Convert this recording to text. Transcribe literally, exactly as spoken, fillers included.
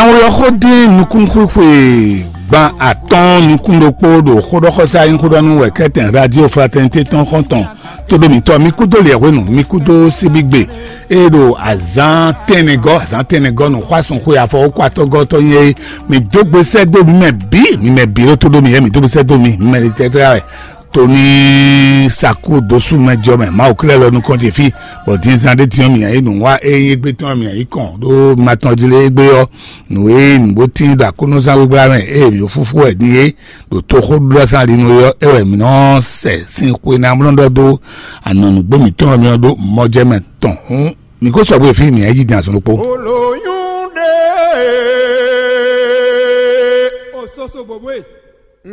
Àwọn yɔxó dín nukún xwixwe gban atɔ́ɔ́n nukún ɖokpó ɖo xóɖɔxɔsá nyí xóɖɔnú wɛ kɛ́tɛn Radio Fraternité tɔn xɔ́ntɔn. Tóɖó mǐtɔn mi kúdó liɛ̌hwenu, mi kúdó síbígbe. E ɖo azǎn tɛnɛgɔ́, azǎn tɛnɛgɔ́ nǔxwásún xwe afɔ wókú atɔ́gɔ́ tɔn nyí é. Mi dó gbe sɛ́ dó mi mɛ bǐ, mi mɛ bǐ ɖó tóɖó mi yɛ mi dó gbe sɛ́ dó mi, mi mɛ tɛtɛ́ wɛ. Tóní sakú dosú mɛ jɔ mɛ Mawu klɛ́ lɔ nukɔn ce fí, bɔ din zan ɖé tiɔn mì ayé nǔ wá é égbé tɔn mì ayé kɔn ɖó ma tɔn jí lé égbé ɔ́. Nǔ e nǔ bó tín ɖo akónɔzán gbégbá mɛ ée mǐ fúfú wɛ din é ɖo toxóɖuɖɔzán ɖi nú é ɔ́, é wɛ mǐ nɔ sɛ sin xwe ná mlɔ́ ɖɔ dó anɔ̌núgbó mǐtɔn ɔ́ mì ɔ́ ɖó mɔjɛmɛ tɔn hǔn. Mǐ ko sɔgbe fí mǐ yi din azɔn ɖokpó.